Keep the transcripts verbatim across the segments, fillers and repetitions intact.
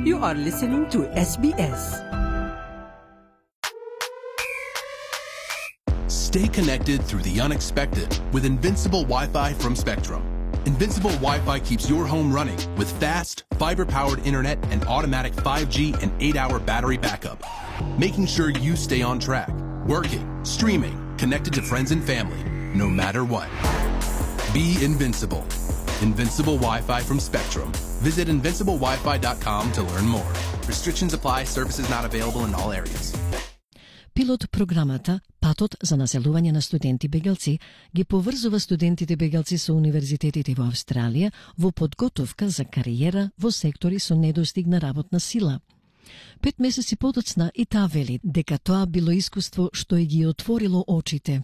You are listening to S B S. Stay connected through the unexpected with Invincible Wi-Fi from Spectrum. Invincible Wi-Fi keeps your home running with fast, fiber-powered internet and automatic five G and eight hour battery backup, making sure you stay on track, working, streaming, connected to friends and family, no matter what. Be invincible. Invincible Wi-Fi from Spectrum. Visit invincible wi fi dot com to learn more. Restrictions apply. Services not available in all areas. Пилот програмата Патот за населување на студенти бегалци ги поврзува студентите бегалци со универзитетите во Австралија во подготовка за кариера во сектори со недостиг на работна сила. Пет месеци подоцна и таа вели дека тоа било искуство што и ги отворило очите.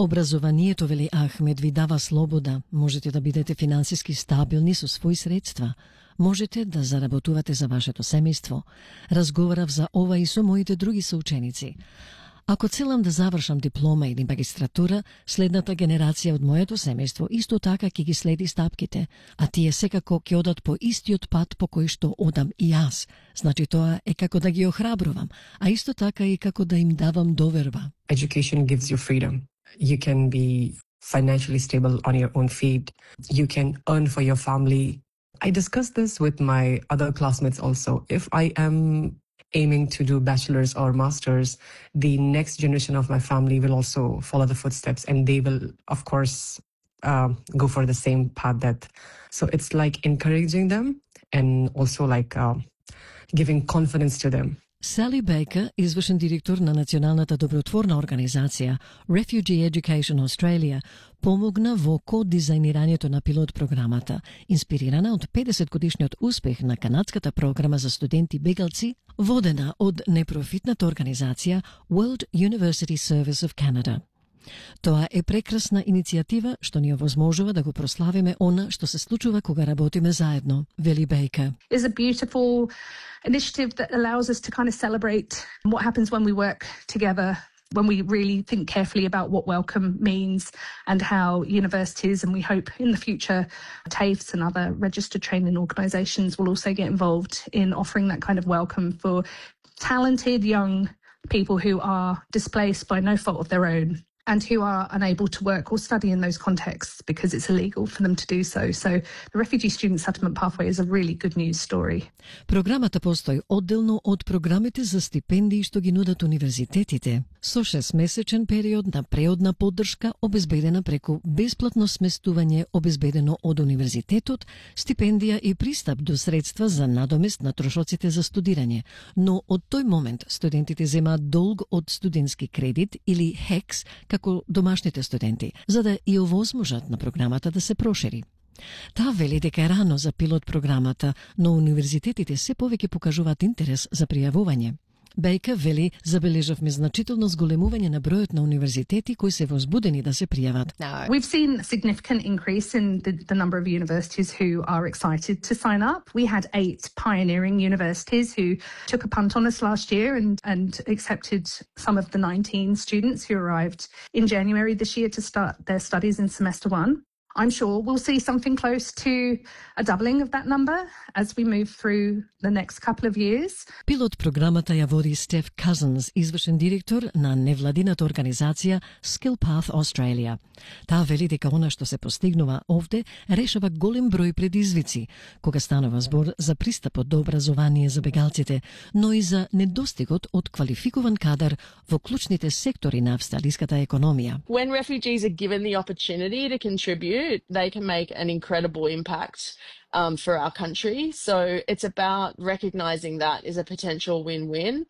Образованието, вели Ахмед, ви дава слобода. Можете да бидете финансиски стабилни со своји средства. Можете да заработувате за вашето семејство. Разговарав за ова и со моите други соученици. Ако целам да завршам диплома или магистратура, следната генерација од моето семејство исто така ќе ги следи стапките, а тие секако ќе одат по истиот пат по кој што одам и јас. Значи тоа е како да ги охрабрувам, а исто така и како да им давам доверба. Education gives you freedom. You can be financially stable on your own feet. You can earn for your family. I discussed this with my other classmates also. If I am aiming to do bachelor's or master's, the next generation of my family will also follow the footsteps, and they will, of course, uh, go for the same path. That so it's like encouraging them and also like uh, giving confidence to them. Сали Бейкер, извршен директор на националната добротворна организација Refugee Education Australia, помогна во кодизајнирањето на пилот програмата, инспирирана од педесет годишниот успех на канадската програма за студенти бегалци, водена од непрофитната организација World University Service of Canada. Тоа е прекрасна иницијатива што ни овозможува да го прославиме она што се случува кога работиме заедно, вели Бейкер. Is a beautiful initiative that allows us to kind of celebrate what happens when we work together, when we really think carefully about what welcome means and how universities, and we hope in the future TAFEs and other registered training organisations will also get involved in offering that kind of welcome for talented young people who are displaced by no fault of their own, and who are unable to work or study in those contexts because it's illegal for them to do so. So the Refugee Student Settlement Pathway is a really good news story. Програмата постои одделно од програмите за стипендии што ги нудат универзитетите, со шестмесечен период на преодна поддршка обезбедена преку бесплатно сместување обезбедено од универзитетот, стипендија и пристап до средства за надомест на трошоците за студирање. Но од тој момент студентите земаат долг од студентски кредит или хекс како домашните студенти, за да и овозможат на програмата да се прошири. Таа вели дека е рано за пилот програмата, но универзитетите се повеќе покажуваат интерес за пријавување. Бейкер вели забележавме значително зголемување на бројот на универзитети кои се возбудени да се пријават. We've seen a significant increase in the, the number of universities who are excited to sign up. We had eight pioneering universities who took a punt on us last year and, and accepted some of the nineteen students who arrived in January this year to start their studies in semester one. I'm sure we'll see something close to a doubling of that number as we move through the next couple of years. Пилот програмата ја води Стеф Cousins, извршен директор на невладината организација Skill Path Australia. Таа вели дека она што се постигнува овде решава голем број предизвици, кога станува збор за пристапот до образование за бегалците, но и за недостигот од квалификуван кадар во клучните сектори на австралиската економија. When refugees are given the opportunity to contribute, they can make an incredible impact um, for our country. So it's about recognising that as a potential win-win.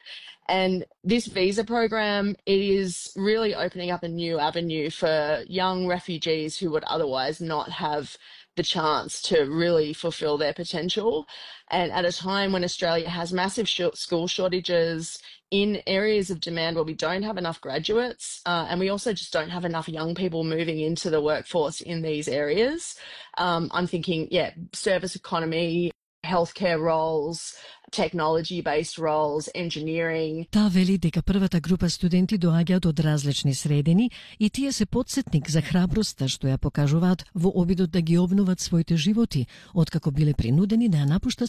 And this visa program, it is really opening up a new avenue for young refugees who would otherwise not have the chance to really fulfil their potential. And at a time when Australia has massive sh- school shortages in areas of demand where we don't have enough graduates, uh, and we also just don't have enough young people moving into the workforce in these areas. Um, I'm thinking, yeah, service economy, healthcare roles, technology-based roles, engineering. Таа вели дека првата група студенти доаѓаат од различни средини и тие се потсетник за храброста што ја покажуваат во обидот да ги обноват своите животи, откако биле принудени да ја напуштат